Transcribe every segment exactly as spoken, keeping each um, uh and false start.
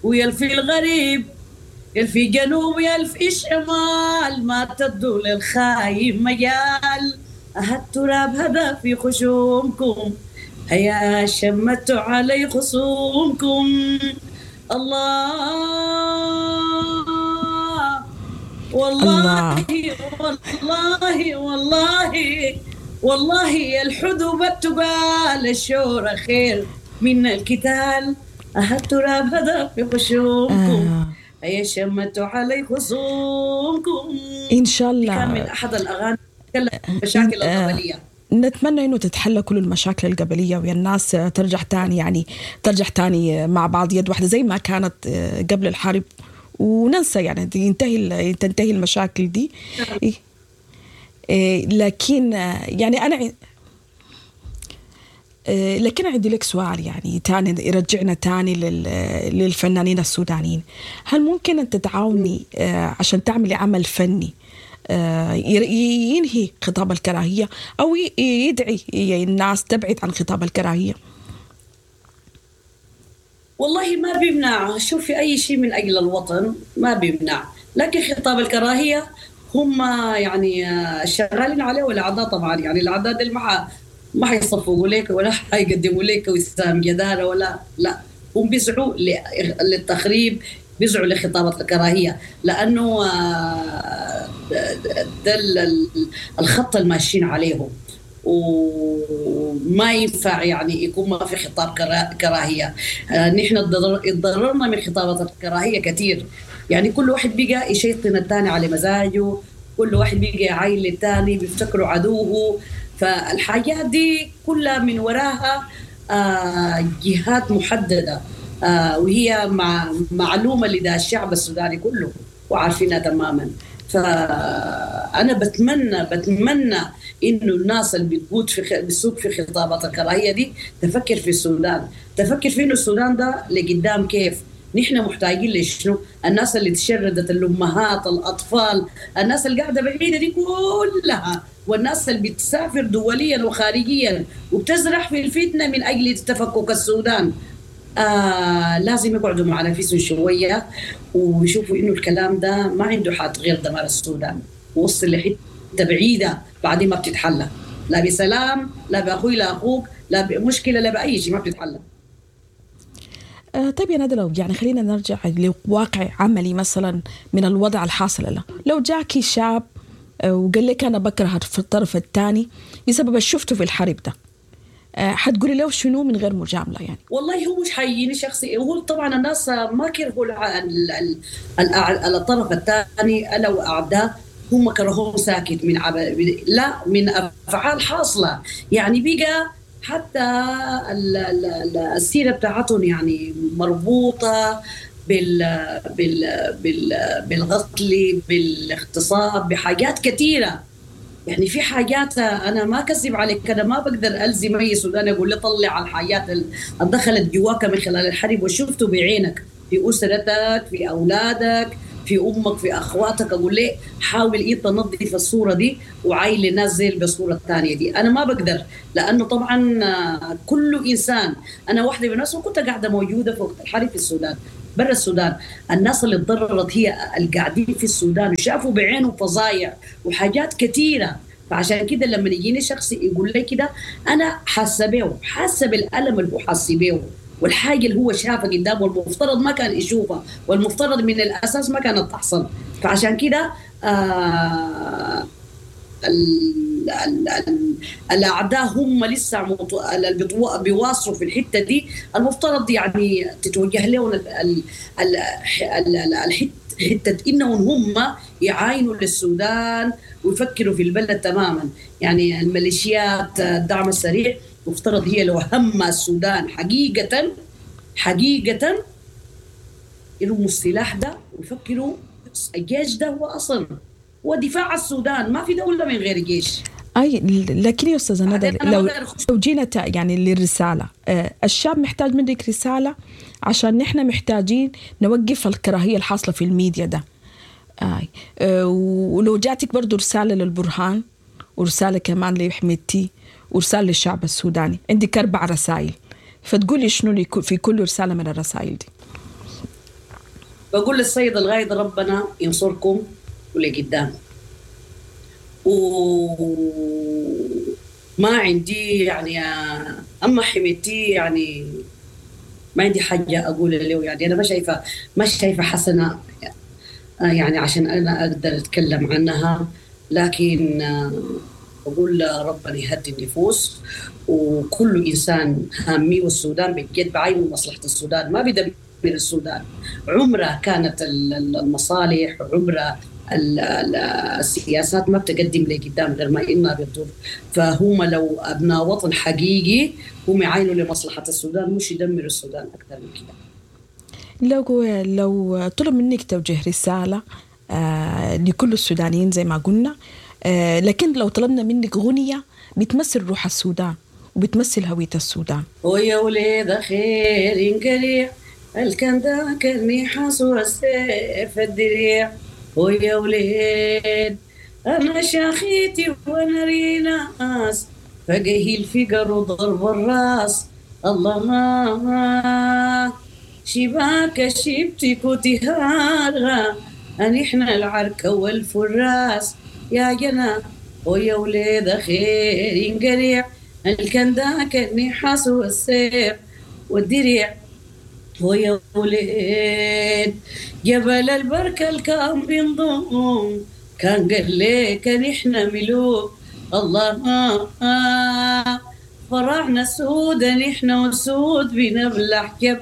ويلفي الغريب، يلفي جنوب يلفي شمال، ما تدوا للخاين مجال. أه التراب هذا في خشومكم، هيا شمتوا علي خصومكم. الله والله الله. والله والله والله الحدوب التقال، الشورى خير من الكتال. أه التراب هذا في خشومكم، آه. هيا شمتوا علي خصومكم. إن شاء دي كان من الله. أحد الأغاني تتكلم عن المشاكل آه، القبلية. نتمنى انه تتحلى كل المشاكل القبلية ويا الناس ترجع تاني، يعني ترجع تاني مع بعض يد واحدة زي ما كانت قبل الحرب، وننسى يعني ينتهي تنتهي المشاكل دي. إيه، إيه، لكن يعني انا إيه، لكن عندي لك سؤال يعني تاني يرجعنا تاني لل- للفنانين السودانيين. هل ممكن أن تتعاوني آه، عشان تعملي عمل فني آه، ير- ينهي خطاب الكراهية أو ي- يدعي الناس تبعد عن خطاب الكراهية؟ والله ما بيمنع، شوفي أي شيء من أجل الوطن ما بيمنع، لكن خطاب الكراهية هم يعني آه، شغالين عليه، والأعداء طبعا يعني الأعداء دي ما ح- ما حيصفقوا لك ولا حيقدموا لك وسام جدارة ولا لا، هم بيسعوا ل- للتخريب، بيسعوا لخطابة الكراهية، لأنه آه، ده ال- ال- الخط الماشيين عليهم، وما ينفع يعني يكون ما في خطاب كرا- كراهية. آه، نحن اتضرر- اتضررنا من خطابات الكراهية كثير، يعني كل واحد بقى يشيطن الثاني على مزاجه، كل واحد بقى يعاين للثاني بيفتكروا عدوه، فالحاجات دي كلها من وراها آه، جهات محددة، آه، وهي مع معلومة لدى الشعب السوداني كله وعارفينها تماما. فأنا بتمنى بتمنى إنه الناس اللي بتقود في خ... بتسوق في خطابات الكراهية دي تفكر في السودان، تفكر في إنه السودان ده لقدام كيف، نحن محتاجين لشنو؟ الناس اللي تشردت، الأمهات، الأطفال، الناس اللي قاعدة بعيدة دي كلها، والناس اللي بتسافر دوليا وخارجيا وبتزرع في الفتنة من أجل تفكك السودان. آه لازم يقعدوا مع نفسهم شوية ويشوفوا إنه الكلام ده ما عنده حد غير دمار السودان، وصل لحتة بعيدة بعدين ما بتتحلى، لا بسلام لا بأخوي لا أخوك لا بمشكلة لا بأي شيء، ما بتتحلى. آه، طيب يا ندى، لو يعني خلينا نرجع لواقع عملي مثلا من الوضع الحاصل له، لو جاكي شاب آه، وقال لك أنا بكره في الطرف الثاني بسبب اللي شفته في الحرب ده، آه، حتقولي له شنو من غير مجاملة يعني؟ والله هو مش حيجيني شخصي، هو طبعا الناس ما كرهوا الع- ال- ال- ال- الطرف الثاني الا واعداء، هم كرهوه ساكت من عب... لا من افعال حاصله، يعني بقى حتى ال- ال- ال- السيرة بتاعتهم يعني مربوطة بال بال بال بالقتل، بالاغتصاب، بحاجات كثيرة. يعني في حاجات انا ما اكذب عليك، انا ما بقدر الزم اي سوداني اقول له طلع على الحاجات اللي دخلت جواك من خلال الحرب وشفته بعينك في اسرتك، في اولادك، في امك، في اخواتك، اقول له حاول ايه تنظف الصورة دي وعايل للناس زي بالصورة الثانية دي. انا ما بقدر، لانه طبعا آه، كل انسان، انا واحدة من الناس وكنت قاعدة موجودة في وقت الحرب في السودان، برا السودان، الناس اللي تضررت هي القاعدين في السودان وشافوا بعينهم فظايع وحاجات كثيرة. فعشان كده لما يجيني شخص يقول لي كده انا حاسه بيه، حاسه بالالم اللي هو حاسه بيه والحاجة اللي هو شافها قدامه والمفترض ما كان يشوفها والمفترض من الاساس ما كانت تحصل. فعشان كده آه ال ال ال الاعداء هم لسه مط- اللي بيطو- بيواصلوا في الحتة دي، المفترض يعني تتوجه لهم ال- ال- ال- ال- ال- الحتة حتة انهم هم يعاينوا للسودان ويفكروا في البلد تماما. يعني الميليشيات الدعم السريع مفترض هي لو هم السودان حقيقة حقيقة يرموا السلاح ده ويفكروا الجيش ده هو اصلا هو دفاع السودان، ما في دولة من غير جيش. اي لكن يا استاذه ندى، بعدين أنا لو ما أقدر أخش. لو جينا تا- يعني للرسالة، آه، الشاب محتاج منك رسالة عشان نحن محتاجين نوقف الكراهية الحاصلة في الميديا ده. آي. آه، ولو جاتك برضو رسالة للبرهان، ورسالة كمان لحميدتي، ورسالة للشعب السوداني، عندك اربع رسائل، فتقولي شنو لي- في كل رسالة من الرسائل دي؟ بقول للسيد الغايد ربنا ينصركم ولقدام، وما عندي يعني أما حميتي يعني ما عندي حاجة أقول له، يعني أنا ما شايفة ما شايفة حسنة يعني عشان أنا أقدر أتكلم عنها، لكن أقول ربنا يهدي النفوس وكل إنسان هامي، والسودان بجد بعين مصلحة السودان، ما بيدمر السودان. عمرها كانت المصالح، عمرها السياسات ما بتقدم لقدام غير ما إنها بتضر. فهم لو أبناء وطن حقيقي هم يعينوا لمصلحة السودان، مش يدمروا السودان أكثر من كده. لو لو طلب منك توجيه رسالة آه لكل السودانيين زي ما قلنا، آه لكن لو طلبنا منك غنية بتمثل روح السودان وبتمثل هوية السودان. ويا وليد خير انقلع الكنداك النحاس والسيف الدريع، ويا وليد أنا شاخيتي وأنا ريناس، فقهي الفقر وضرب الراس. الله شباك شبتك وتهارها أن إحنا العركة والفراس يا جنا. ويا وليد خير انقريع الكنداك النحاس والسيف والدريع، ويا وليد جبل البركة الكام بنضم كان قال لك نحن ملوك. الله فرعنا سود نحن وسود بنبلع جب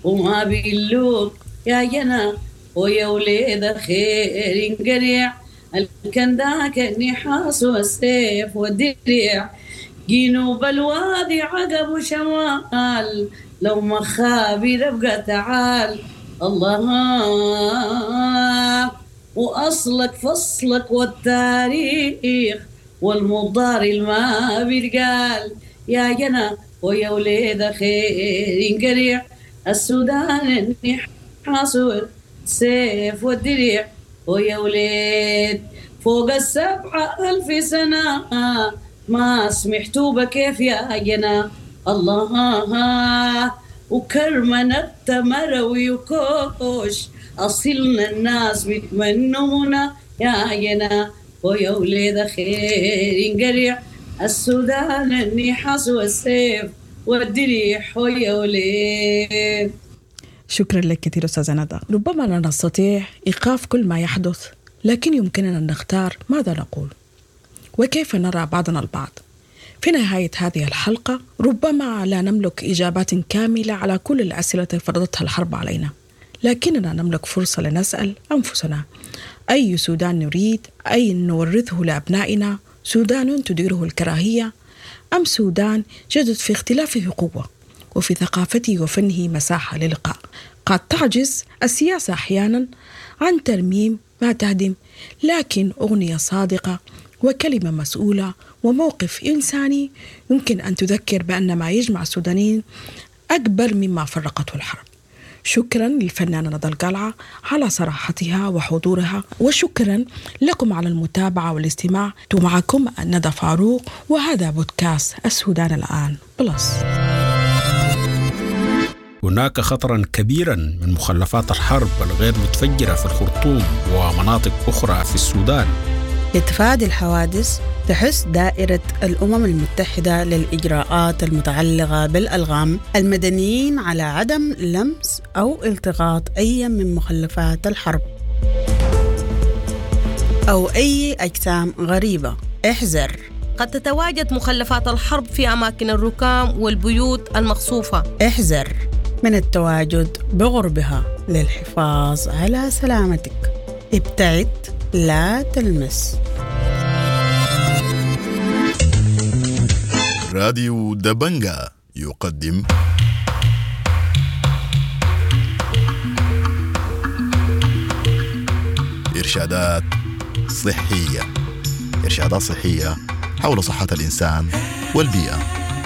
وما بيلوك يا جنا. ويا وليد خير انقريع الكنداك النحاس والسيف والدريع، جنوب الوادي عقب وشمال لو ما خابي ابقى تعال. الله وأصلك فصلك والتاريخ والمضار الما بيتقال يا جنا. ويا وليد خير انقريع السودان النحاس والسيف والدريع، ويا وليد فوق السبعة ألف سنة ما سمحتوا بكيف يا جنا. الله وكرمنا التمر ويكوش أصلنا الناس بيتمنونا يا جنا. ويا وليد خير انقريع السودان النحاس والسيف والدريح، ويا وليد. شكرا لك كثير أستاذة ندى. ربما لا نستطيع إيقاف كل ما يحدث، لكن يمكننا أن نختار ماذا نقول وكيف نرى بعضنا البعض. في نهاية هذه الحلقة ربما لا نملك إجابات كاملة على كل الأسئلة التي فرضتها الحرب علينا، لكننا نملك فرصة لنسأل أنفسنا أي سودان نريد، أي نورثه لأبنائنا؟ سودان تديره الكراهية أم سودان جدد في اختلافه قوة وفي ثقافته وفنه مساحة للقاء؟ قد تعجز السياسة أحيانا عن ترميم ما تهدم، لكن أغنية صادقة وكلمة مسؤولة وموقف إنساني يمكن أن تذكر بأن ما يجمع السودانيين أكبر مما فرقته الحرب. شكرا للفنانة ندى القلعة على صراحتها وحضورها، وشكرا لكم على المتابعة والاستماع. معكم ندى فاروق، وهذا بودكاست السودان الآن بلس. هناك خطرا كبيرا من مخلفات الحرب الغير متفجرة في الخرطوم ومناطق أخرى في السودان. لتفادي الحوادث تحث دائرة الأمم المتحدة للإجراءات المتعلقة بالألغام المدنيين على عدم لمس أو التقاط أي من مخلفات الحرب أو أي أجسام غريبة. احذر، قد تتواجد مخلفات الحرب في أماكن الركام والبيوت المقصوفة. احذر من التواجد بغربها للحفاظ على سلامتك. ابتعد، لا تلمس. راديو دبنجا يقدم إرشادات صحية. إرشادات صحية حول صحة الإنسان والبيئة.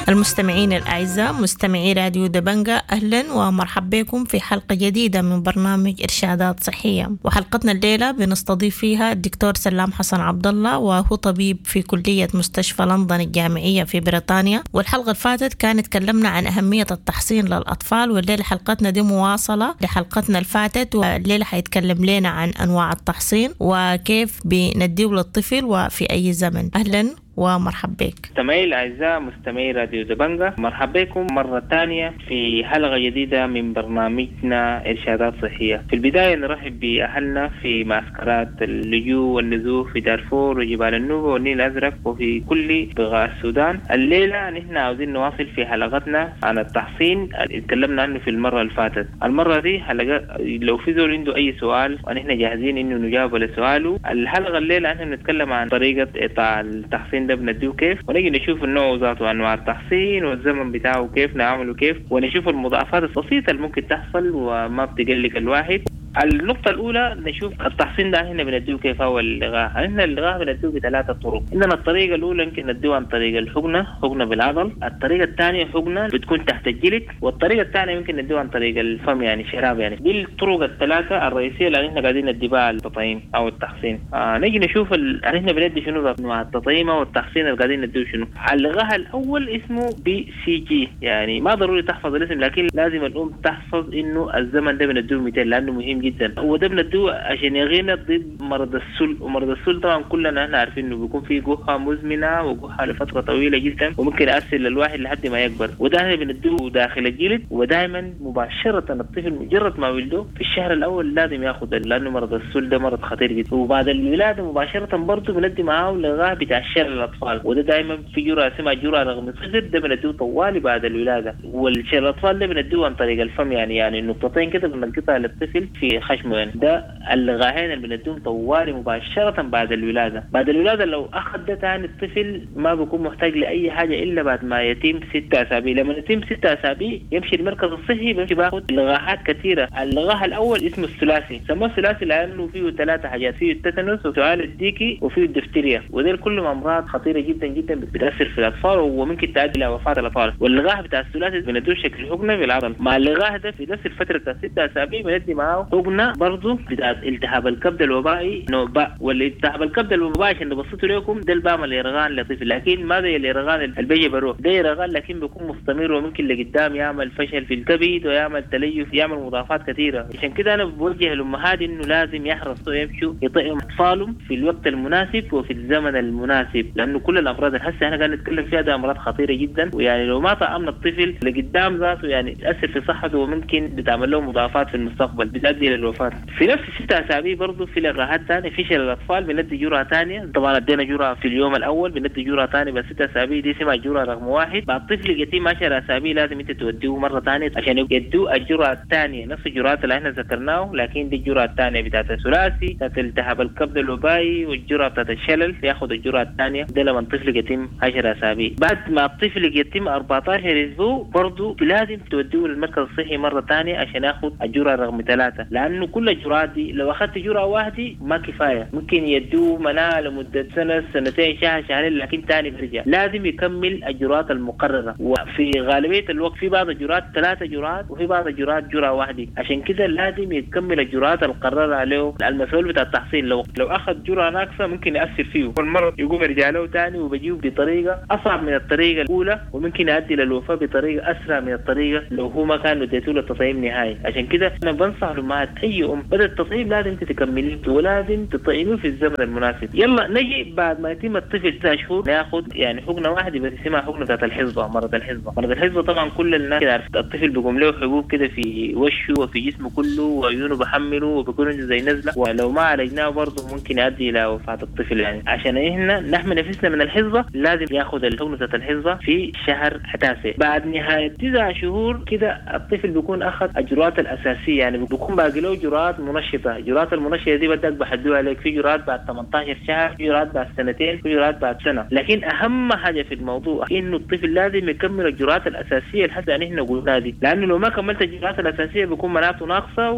المستمعين الأعزاء مستمعي راديو دبنجة، أهلا ومرحبا بكم في حلقة جديدة من برنامج إرشادات صحية. وحلقتنا الليلة بنستضيف فيها الدكتور سلام حسن عبد الله، وهو طبيب في كلية مستشفى لندن الجامعية في بريطانيا. والحلقة اللي فاتت كانت تكلمنا عن أهمية التحصين للأطفال، والليلة حلقتنا دي مواصلة لحلقتنا اللي فاتت، والليلة حيتكلم لنا عن أنواع التحصين وكيف بنديه للطفل وفي أي زمن. أهلا ومرحبا بك. مستمعي الأعزاء مستمعي راديو دبنجة، مرحبا بكم مرة ثانية في حلقة جديدة من برنامجنا إرشادات صحية. في البداية نرحب بأهلنا في معسكرات اللجوء والنزوح في دارفور وجبال النوبة والنيل الأزرق وفي كل بقاع السودان. الليلة نحن عاوزين نواصل في حلقتنا عن التحصين اللي تكلمنا عنه في المرة اللي فاتت. المرة دي حلقة لو في زول عنده أي سؤال ونحن جاهزين إنه نجاوب على سؤاله. الحلقة الليلة نحن بنتكلم عن طريقة إعطاء التحصين ده بنديه كيف، ونجي نشوف النوع ذاته، انواع التحصين والزمن بتاعه كيف نعمله كيف، ونشوف المضاعفات البسيطة اللي ممكن تحصل وما بتقلق الواحد. النقطة الأولى نشوف التحصين ده هنا بنديه كيف هو اللقاح. هنا اللقاح بنديه بثلاثة طرق. عندنا الطريقة الأولى يمكن نديه عن طريق الحقنة، حقنة بالعضل. الطريقة الثانية حقنة بتكون تحت الجلد، والطريقة الثانية يمكن نديه عن طريق الفم يعني شراب يعني. دي الطرق الثلاثة الرئيسية اللي احنا قاعدين ندي بها التطعيم أو التحصين. آه نيجي نشوف ال... احنا بندي شنو أنواع التطعيم أو التحصين اللي قاعدين نديه شنو. اللقاح الأول اسمه BCG، يعني ما ضروري تحفظ الاسم لكن لازم الأم تحفظ إنه الزمن ده بنديه مئتين لأنه مهم جدا. وده بندوه عشان يغينا ضد مرض السل، ومرض السل طبعا كلنا احنا عارفين انه بيكون فيه جحا مزمنة وجحا لفترة طويلة جدا وممكن يأثر للواحد لحد ما يكبر. وده احنا بندوه داخل الجلد، ودائما مباشرة الطفل مجرد ما ولده في الشهر الاول لازم ياخذ، لانه مرض السل ده مرض خطير جدا. وبعد الولادة مباشرة برضه بندي معاه لقاح بتاع شلل الاطفال، وده دائما في جرعة اسمها جرعة رقم صفر، ده بندوه طوالي بعد الولادة. والشلل الاطفال ده بندوه عن طريق الفم، يعني يعني نقطتين كده بنلقطها للطفل في خشمه يعني. ده اللقاحين اللي بنديهم طوالي مباشرة بعد الولادة. بعد الولادة لو أخذ ده تاني الطفل ما بيكون محتاج لأي حاجة إلا بعد ما يتم ستة أسابيع. لما يتم ستة أسابيع يمشي المركز الصحي بيمشي باخد لقاحات كثيرة. اللقاح الأول اسمه الثلاثي، سموه الثلاثي لأنه فيه ثلاثة حاجات، فيه التتنس وسعال الديكي وفيه الدفتيريا، ودول كلهم أمراض خطيرة جدا جدا بتأثر في الأطفال وممكن تؤدي إلى وفاة الأطفال. واللقاح بتاع الثلاثي بندوه شكل حقنة بالعضل. مع اللقاح ده في نفس الفترة بتاع ستة أسابيع بندي معاه حقنة برضه بتاعت التهاب الكبد الوبائي نوع باء. والالتهاب الكبد الوبائي عشان نبسطه لكم ده البام اليرغان لطيف، لكن ما زي اليرغان اللي بيجي بروح، ده يرغان لكن بيكون مستمر وممكن لقدام يعمل فشل في الكبد ويعمل تليف، يعمل مضاعفات كثيرة. عشان كده انا بوجه الامهات انه لازم يحرصوا يمشوا يطعموا اطفالهم في الوقت المناسب وفي الزمن المناسب، لانه كل الامراض اللي هسه احنا قاعدين نتكلم فيها ده امراض خطيرة جدا، ويعني لو ما طعمنا الطفل لقدام ذاته يعني تاثر في صحته وممكن بتعمل له مضاعفات في المستقبل بتؤدي للوفاه. في نفس الستة اسابيع برضه في لقاحات ثانية في شلل الاطفال بندي جرعة ثانية، طبعا ادينا جرعة في اليوم الاول بندي جرعة ثانية بس ستة اسابيع دي اسمها جرعة رقم واحد. بعد طفل يتم عشرة اسابيع لازم انت توديه مرة ثانية عشان يدوه الجرعة الثانية، نفس الجرعات اللي احنا ذكرناه لكن دي الجرعة الثانية بتاعت الثلاثي بتاعت التهاب الكبد الوبائي والجرعه بتاعت الشلل، ياخذ الجرعة الثانية ده لما الطفل يتم عشرة اسابيع. بعد ما الطفل يتم أربعة عشر اسبوع برضه لازم توديه للمركز الصحي مرة ثانية عشان ياخذ الجرعة رقم ثلاثة، لانه كل الجرعات دي لو اخذت جرعة واحدة ما كفاية، ممكن يدوه مناعة لمدة سنة سنتين شهر شهرين لكن ثاني بيرجع، لازم يكمل الجرعات المقررة. وفي غالبية الوقت في بعض الجرعات ثلاثة جرعات وفي بعض الجرعات جرعة واحدة، عشان كده لازم يكمل الجرعات المقررة عليه المسؤول بتاع التحصيل. لو لو اخذ جرعة ناقصه ممكن ياثر فيه والمرض يقوم يرجع له ثاني وبيجيه بطريقة اصعب من الطريقة الاولى، وممكن يؤدي للوفاه بطريقة اسرع من الطريقة لو هو ما كان اديته له التطعيم نهائي. عشان كده انا بنصح الامهات اي ام بدا التطعيم لازم تكمليه ولازم تطعميه في الزمن المناسب. يلا نجي بعد ما يتم الطفل تسع شهور ناخذ يعني حقنه واحدة بس اسمها حقنه بتاعت الحصبة، مرض الحصبة. مرض الحصبة طبعا كل الناس كده عارف الطفل بيقوم له حبوب كده في وشه وفي جسمه كله وعيونه بحمله وبيكون عنده زي نزله، ولو ما عالجناه برضه ممكن يؤدي الى وفاه الطفل. يعني عشان احنا نحمي نفسنا من الحصبة لازم ياخذ الحقنة بتاعت الحصبة في شهر تاسع. بعد نهاية تسع شهور كده الطفل بيكون اخذ الجرعات الاساسية، يعني بيكون باقي باقي له جرعات منشطه. جرعات المنشطه دي بدك بحدوها لك، في جرعات بعد ثمانية عشر شهر، في جرعات بعد سنتين، في جرعات بعد سنة. لكن اهم حاجة في الموضوع انه الطفل لازم يكمل الجرعات الاساسية اللي حتى نحن قلناها دي، لانه لو ما كملت الجرعات الاساسية بيكون مناعته ناقصه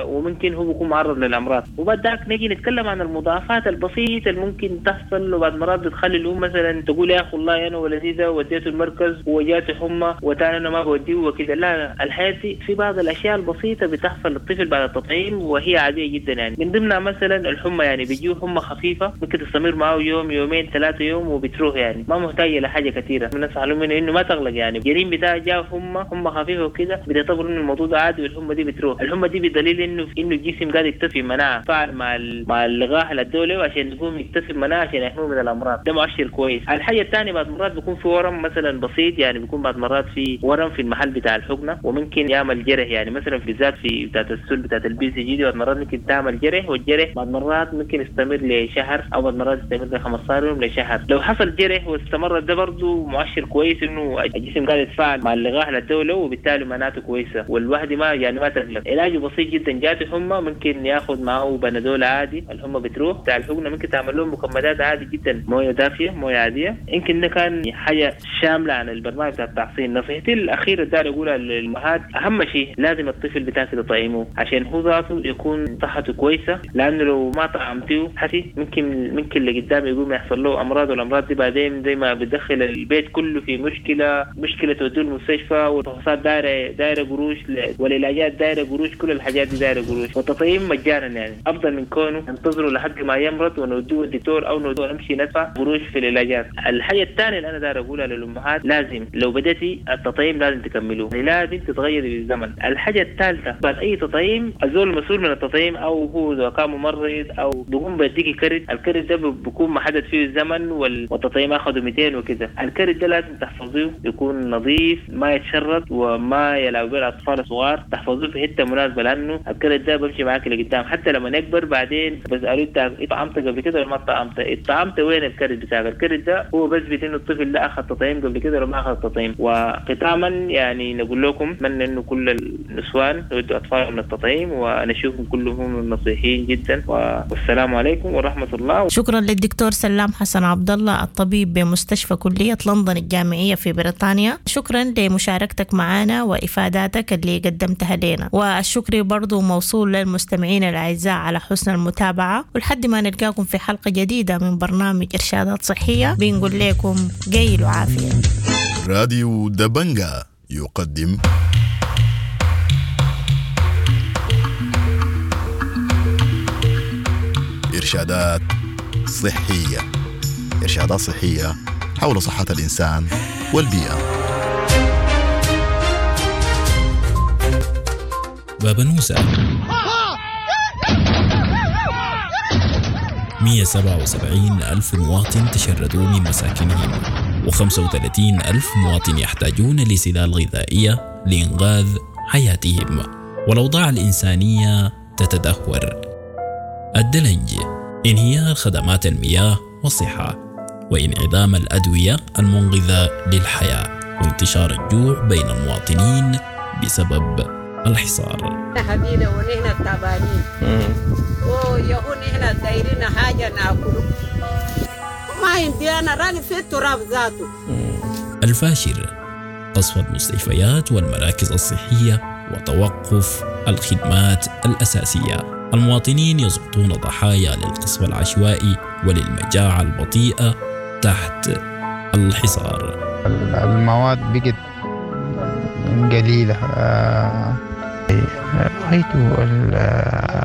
وممكن هو بيكون معرض للامراض. وبعد ذاك نجي نتكلم عن المضاعفات البسيطة اللي ممكن تحصل، وبعد مرات بتخلي الام مثلا تقول يا اخي والله انا ولدي ده وديته المركز وجاته حمى وتاني انا ما بوديه وكده. لا، الحياة دي في بعض الاشياء البسيطة بتحصل للطفل بعد التطعيم وهي عادية جدا يعني، من ضمنها مثلا الحمى، يعني بيجيه حمى خفيفة ممكن تستمر معه يوم يومين ثلاثة يوم وبتروح، يعني ما محتاجه لحاجة كثيرة. بنصح لهم انه ما تغلق، يعني الجنين بتاعه جاه حمى حمى خفيفة وكده بتعتبر انه الموضوع ده عادي والحمى دي بتروح. الحمى دي بدليل انه انه الجسم قاعد يكتسب مناعة فعل مع مع اللقاح الدولي عشان يقوم يكتسب مناعة عشان يحميه من الامراض، ده مؤشر كويس. الحاجة الثانية بعد مرات بيكون في ورم مثلا بسيط، يعني بيكون بعد مرات في ورم في المحل بتاع الحقنة وممكن يعمل جرح، يعني مثلا في ذات في بتاعه السل بتاعه ال BCG دي بعد مرات ممكن تعمل جرح، والجرح بعد مرات ممكن يستمر لشهر او بعد مرات يستمر ل خمسة عشر يوم لشهر. لو حصل جرح واستمر ده برضه مؤشر كويس انه الجسم قاعد يتفاعل مع اللقاح الدولي وبالتالي مناعته كويسة، والواحد ما يعني ما تقلق. علاجه بسيط جدا، جاته حمى ممكن ياخذ معه بنادول عادي الحمى بتروح. بتاع الحقنة ممكن تعمل لهم مكمدات عادي جدا، مويه دافيه مويه عادية. يمكن ده كان حاجة شاملة عن البرنامج بتاع التحصين. نصيحتي الاخيرة داير اقولها للامهات، اهم شيء لازم الطفل بتاعك تطعمه عشان هو ذاته يكون صحته كويسة، لانه لو ما طعمتيه حسي ممكن ممكن لقدام يقوم يحصل له امراض، والامراض دي بعدين زي ما بتدخل البيت كله في مشكلة، مشكلة توديه المستشفى، والفحوصات دايرة دايرة قروش، والعلاجات دايرة قروش، كل الحاجات دي دايرة قروش. والتطعيم مجانا يعني افضل من كونه ننتظره لحد ما يمرض ونوديه الدكتور او نوديه نمشي ندفع قروش في العلاجات. الحاجة الثانية اللي انا داير اقولها للامهات، لازم لو بدأتي التطعيم لازم تكملوه، يعني لازم تتغيري بالزمن. الحاجة الثالثة بعد اي تطعيم الزول المسؤول من التطعيم او هو اذا كان ممرض او بيقوم بيديكي كرت، الكرت ده بيكون محدد فيه الزمن والتطعيم اخذه مئتين وكذا. الكرت ده لازم تحفظيه يكون نظيف ما يتشرط وما يلعب به الاطفال الصغار، تحفظوه في حتة مناسبة لانه الكرت ده بمشي معاك لقدام حتى لما يكبر. بعدين بسالوه انت طعمت قبل كده ولا ما طعمت؟ طعمت وين الكرت بتاعك؟ الكرت ده هو بثبت انه الطفل ده اخذ تطعيم قبل كده ولا ما اخذ تطعيم. وختاما يعني نقول لكم اتمنى انه كل النسوان يودوا اطفالهم للتطعيم ونشوفهم كلهم نصيحين جدا، والسلام عليكم ورحمة الله. شكرا للدكتور سلام حسن عبد الله الطبيب بمستشفى كليه لندن الجامعية في بريطانيا، شكرا لمشاركتك معنا وافاداتك اللي قدمتها لنا، والشكر برضو موصول للمستمعين الاعزاء على حسن المتابعة، ولحد ما نلقاكم في حلقة جديدة من برنامج ارشادات صحية بنقول لكم قيل وعافيه. راديو دبنجا يقدم إرشادات صحية، إرشادات صحية حول صحة الإنسان والبيئة. بابنوسة مئة وسبعة وسبعين ألف مواطن تشردوا من مساكنهم، وخمسة وثلاثين ألف مواطن يحتاجون لسلال غذائية لإنقاذ حياتهم، والأوضاع الإنسانية تتدهور. الدلنج، انهيار خدمات المياه والصحة، وانعدام الأدوية المنقذة للحياة، وانتشار الجوع بين المواطنين بسبب الحصار. حبينا ونحن تعبانين ويهون نحن دايرين حاجة ناكله ما عندي أنا راني في التراب ذاته. الفاشر، قصف المستشفيات والمراكز الصحية وتوقف الخدمات الأساسية. المواطنين يسقطون ضحايا للقصف العشوائي وللمجاعة البطيئة تحت الحصار. المواد بقت قليلة، رأيته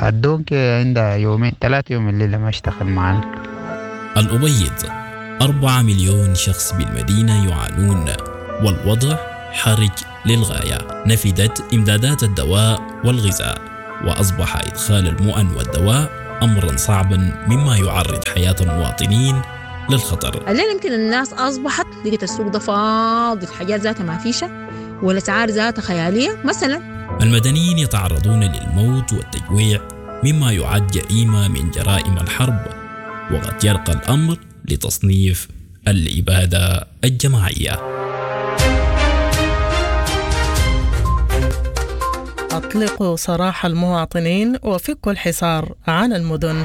الدونك عندها يومين ثلاثة يوم الليلة ما اشتغل معنا. الأبيض، أربعة مليون شخص بالمدينة يعانون والوضع حرج للغاية. نفدت إمدادات الدواء والغذاء، وأصبح إدخال المؤن والدواء أمرا صعبا مما يعرض حياة المواطنين للخطر. الليلة يمكن الناس أصبحت لقيت السوق ده فاضي، الحاجات ذاتها ما فيشة والأسعار ذاتها خيالية مثلا. المدنيين يتعرضون للموت والتجويع مما يعد جريمة من جرائم الحرب، وقد يرقى الأمر لتصنيف الإبادة الجماعية. أطلقوا سراح المواطنين وفكوا الحصار عن المدن.